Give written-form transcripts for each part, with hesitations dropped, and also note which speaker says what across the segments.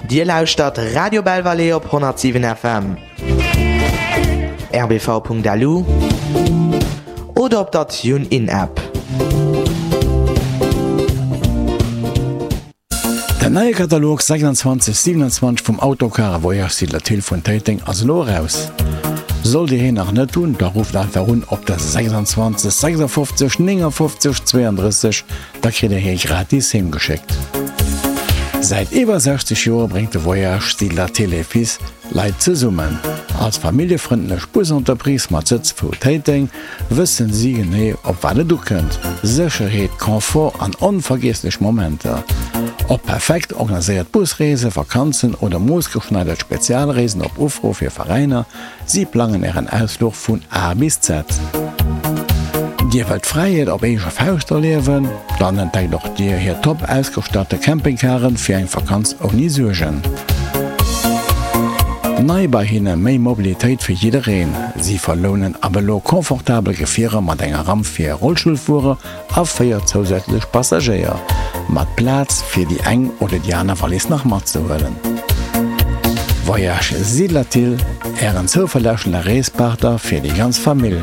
Speaker 1: Dir lauschtert Radio Belval op 107 FM, rbv.lu oder op der TuneIn-App.
Speaker 2: Den neie Katalog 26 27 vum Autocar a Voyage Siedler Thill vun Téiteng ass elo eraus. Sollt Dir heen nach net hunn, da rufft einfach un op der 26 56 59 32, da kritt Dir hee gratis heem geschéckt. Säit iwwer 60 Joer bréngt de Voyage Siedler Thill et Fils Leit zesummen. Als familljefrëndlech Busentreprise mat Sëtz vu Téiteng wëssen si genee op wat et ukënnt, Sécherheet, Confort an onvergiesslech Momenter. Ob perfekt organiséiert Busreesen, Vakanzen oder moossgeschneidert Spezialreesen op Ufro fir Veräiner, si plangen Ären Ausfluch vun A bis Z. Dir wëllt Fräiheet op eege Fauscht erliewen? Dann entdeckt och Dir hir top ausgestatte Campingcaren fir eng Vakanz ouni Suergen. Nei bei hinne, méi Mobilitéit fir jiddereen. Si verlounen ab elo confortabel Gefierer mat enger Ramp fir Rollstullfuerer a 4 zousätzlech Passagéier, mat Plaz fir déi eng oder déi aner Wallis nach matzehuelen. Voyage Siedlerthill, Ären zouverlässege Reespartner fir déi ganz Famill.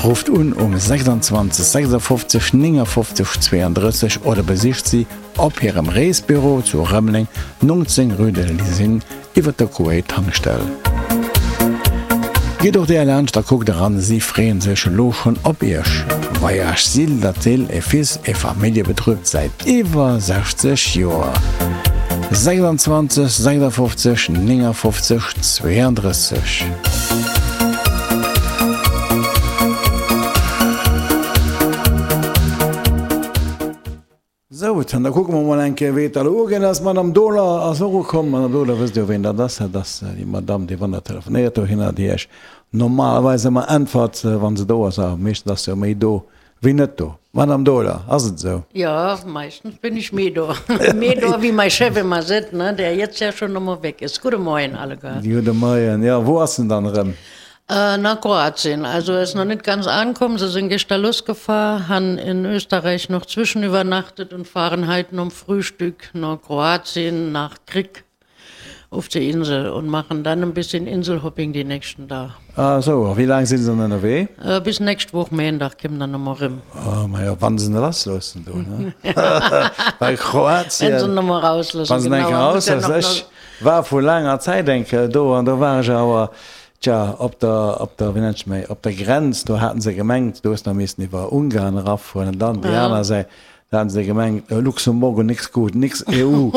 Speaker 2: Rufft un um 26 56 59 32 oder besicht si op hirem Reesbüro zu Rëmeleng, 19 rue de l'Usine, iwwer der Kuwait Tankstell. Gitt och där laanscht a kuckt eran, si freeën sech elo schonn op iech. Voyage Sill-Latil et Fils e Familljebetrib säit iwwer 60 Joer. 26 56 59 32. Sou, dann da kucke mer mol eng Kéier, wéi et da elo ugaangen ass. D'Madame Dohler ass och ukomm. Madame Dohler, wësst Dir, ween dat ass? Dat ass déi Madame, déi wann Der telefonéiert dohinner, déi Iech normalerweis ëmmer äntwert, wa se do ass. A meeschtens ass se jo méi do wéi net do. Madame Dohler, ass et esou?
Speaker 3: Jo, meeschtens bin ech méi do. Méi do, wéi mäi Chef ëmmer seet, ne, der jetzt ja schon nochmol weg ist. Gudde Moien alleguer.
Speaker 2: Gudde Moien. Jo, wou ass en dann erëm?
Speaker 3: Nach Kroatien. Also er ist noch nicht ganz angekommen. Sie sind gestern losgefahren, han in Österreich noch zwischenübernachtet und fahren heute nom Frühstück nach Kroatien, nach Krk auf die Insel und machen dann ein bisschen Inselhopping die nächsten Dag.
Speaker 2: Ah sou, a wéi laang sinn se dann ënnerwee?
Speaker 3: Bis nächst Woch Méindag kommen dann nochmol rëm.
Speaker 2: Oh majo, wann se lassloossen do, ne? Well Kroatien.
Speaker 3: Wenn se nochmol rausloossen,
Speaker 2: genau. Wann se eng Kéier rausloossen. Ech war vu laanger Zäit eng Kéier do an do war ech awer Tja, op der, op der, wéi nennt sech méi, op der Grenz, do haten se gemengt, do hues nach missen iwwer Ungarn erafueren an dann déi aner Säit, do haten se gemengt, Luxemburgo nix gut, nix EU.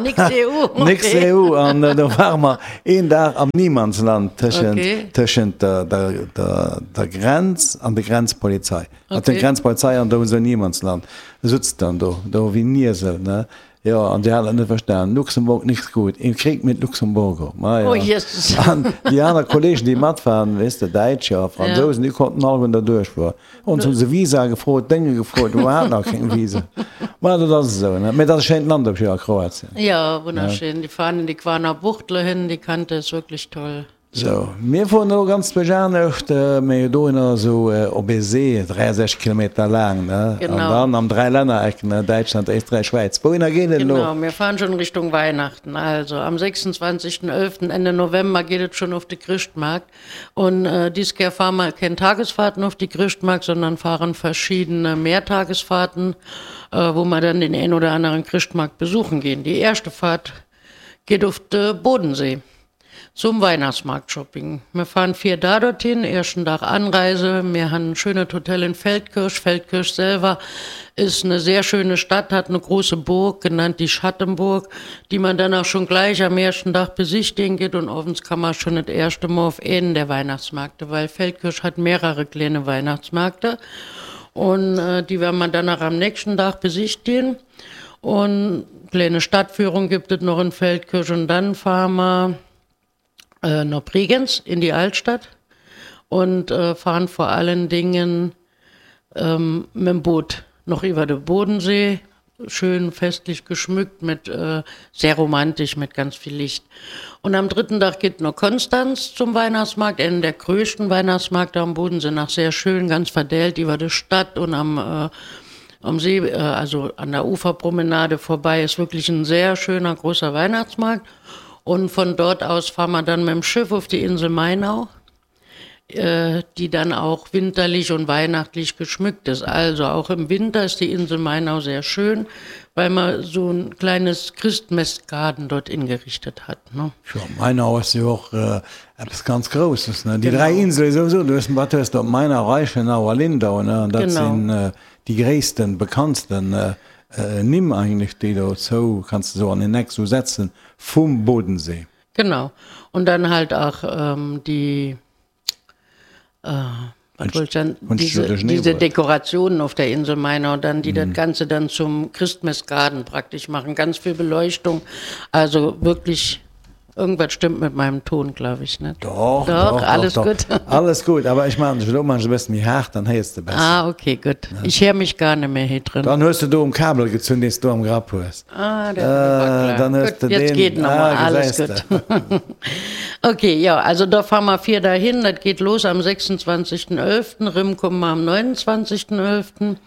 Speaker 3: Nix EU, okay.
Speaker 2: Nix EU an do ware mer een Dag am Niemandsland tëschent, tëschent der, der, der, der Grenz an der Grenzpolizei. An der Grenzpolizei an do esou Niemandsland, sutz dann do, do wéi Niesel, ne. Jo, an déi haten et net verstanen. Luxemburg nix gut, im Krieg mit Luxemburgo. Ma jo.
Speaker 3: Oh Jesus.
Speaker 2: An déi aner Kollegen, déi mat waren, weess de, Däitscher a Fransousen, déi konnten alleguerten derduerch fueren. Ons hu se Visa gefrot, Dénge gefrot, mä mer haten nach keng Visa. Ma dat ass esou, ne? Mee dat ass e schéint Land op jidder Fall, Kroatien.
Speaker 3: Jo, wunnerschön. Déi fahren in die Kvarner Bucht dohin, déi Kante ist wirklich toll.
Speaker 2: Sou, mir fueren elo ganz duerch anescht, mee dohinner esou op ee See, 63 Kilometer laang, ne?
Speaker 3: Genau.
Speaker 2: An dann am Dräilännereck, ne, Däitschland, Éisträich, Schwäiz. Wouhinner geet et elo?
Speaker 3: Genau, mir fahren schon Richtung Weihnachten. Also am 26.11., Ende November, geht et schon auf de Chrëschtmarkt. Und dies Kehr fahren wir keng Tagesfahrten auf die Chrëschtmarkt, sondern fahren verschiedene Mehrtagesfahrten, wo wir dann den een oder anderen Chrëschtmarkt besuchen gehen. Die erste Fahrt geht auf de Bodensee. Zum Weihnachtsmarktshopping. Mir fahren 4 Daa dorthin, ersten Dag Anreise, mir han en schönet Hotel in Feldkirch. Feldkirch selwer ist ne sehr schöne Stadt, hat ne große Burg, genannt die Schattenburg, die man dann auch schon gleich am ersten Dag besichtigen geht und owends kann man schon et erste Mol auf een der Weihnachtsmarkte, weil Feldkirch hat mehrere kleine Weihnachtsmarkte und die werden man dann auch am nächsten Dag besichtigen. Und kleine Stadtführung gibt et noch in Feldkirch und dann fahren wir äh, nach Bregenz in die Altstadt und äh, fahren vor allen Dingen ähm, mit dem Boot noch über den Bodensee, schön festlich geschmückt mit äh, sehr romantisch mit ganz viel Licht. Und am dritten Tag geht noch Konstanz zum Weihnachtsmarkt, einen der größten Weihnachtsmarkt am Bodensee nach sehr schön, ganz verdellt über die Stadt und am äh, Am See, äh, also an der Uferpromenade vorbei, ist wirklich ein sehr schöner großer Weihnachtsmarkt. Und von dort aus fahren wir dann mit dem Schiff auf die Insel Mainau, äh, die dann auch winterlich und weihnachtlich geschmückt ist. Also auch im Winter ist die Insel Mainau sehr schön, weil man so ein kleines Christmessgarten dort ingerichtet hat. Ne?
Speaker 2: Ja, Mainau ass jo och äh, eppes ganz Grousses. Ne? Déi dräi Insele souwisou, du hues, wat hues du op Mainau, Reichenau a Lindau, ne? An dat sinn äh, déi gréissten, bekanntsten äh, äh, Nimm eigentlech, déi dozou kanns de sou an een Eck sou setzen vum Bodensee.
Speaker 3: Genau. Und dann halt auch ähm, die äh, was wollte ich denn? Diese, diese Dekorationen auf der Insel Mainau, dann, die mhm. das Ganze dann zum Christmessgarten praktisch machen. Ganz viel Beleuchtung. Also wirklich Irgendwas stimmt mit meinem Ton, glaube ich, net?
Speaker 2: Doch, doch, doch,
Speaker 3: alles
Speaker 2: doch,
Speaker 3: gutt.
Speaker 2: Alles gutt, awer ech maachen dech elo maachen ech e bëssen méi haart, dann héiers de besser.
Speaker 3: Ah, okay, gutt. Ich héier mech gar net méi hei
Speaker 2: drën. Dann hues de do um Kabel gezunn, deen s du am Grapp hues.
Speaker 3: Ah, dat war klar.
Speaker 2: Dann hues
Speaker 3: de deen. Jetzt geet nochmal, ah, alles gutt. Okay, jo, also da fahr mer vir dahin, dat geet los am 26.11., rëm komme mer am 29.11.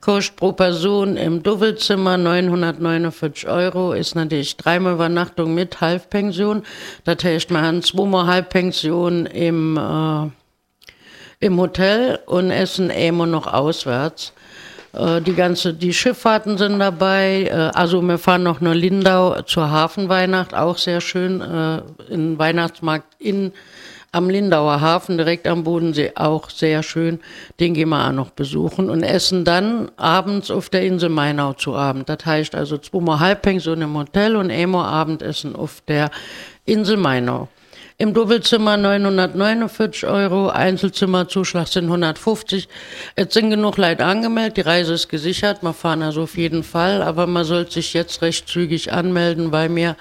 Speaker 3: Koscht pro Persoun im Duwwelzimmer 949 Euro, is natierlech dräimol Iwwernachtung mit Halfpension. Dat heescht, mer han zwomol Halbpension im, im Hotel und essen eemol noch auswärts. Die ganze, die Schifffahrten sind dabei. Also mir fahren noch no Lindau zur Hafenweihnacht, auch sehr schön, in Weihnachtsmarkt in Am Lindauer Hafen, direkt am Bodensee, auch sehr schön. Den gehen wir auch noch besuchen und essen dann abends auf der Insel Mainau zu Abend. Dat heischt also zweimal Halbpension im Hotel und einmal Abendessen auf der Insel Mainau. Im Doppelzimmer 949 Euro, Einzelzimmerzuschlag sind 150. Et sinn genuch Leit angemeldet, die Reise ist gesichert, mer fahren also auf jeden Fall, aber man sollt sich jetzt recht zügig anmelden, weil mir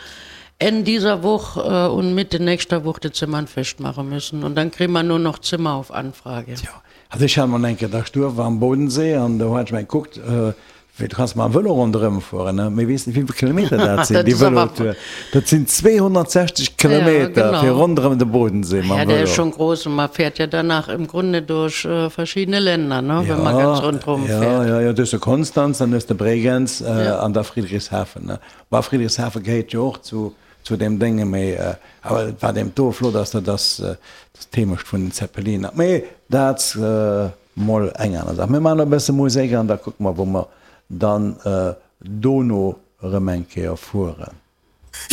Speaker 3: Enn dieser Woch und Mitte nächster Woch de Zimmern festmache müssen und dann kriegen mer nur noch Zimmer auf Anfrage.
Speaker 2: Tjo, also ech hat mol eng Kéier da Stuerf am Bodensee an do hat ech mol gekuckt, wéi du kanns mam Vëlo ronderëm fueren, ne, mee weess net wéivill Kilometer dat sinn, déi Vëlotour, dat sinn 260 Kilometer fir ronderëm de Bodensee mam
Speaker 3: Vëlo. Ja, der ist schon groß und man fährt ja danach im Grunde durch verschiedene Länder, ne, wenn man ganz rundherum fährt.
Speaker 2: Ja, ja, ja, du hues de Konstanz, dann hues de Bregenz an da Friedrichshafen, ne. Bah, Friedrichshafen gehéiert jo och zu zu deem Dénge, mee awer et wat eben do flott ass, dat ass d'Heemecht vun den Zeppeliner. Mee dat mol eng aner Saach. Mir maachen e bësse Musek an da kucke mer, wou mer dann dono erëm eng Kéier fueren.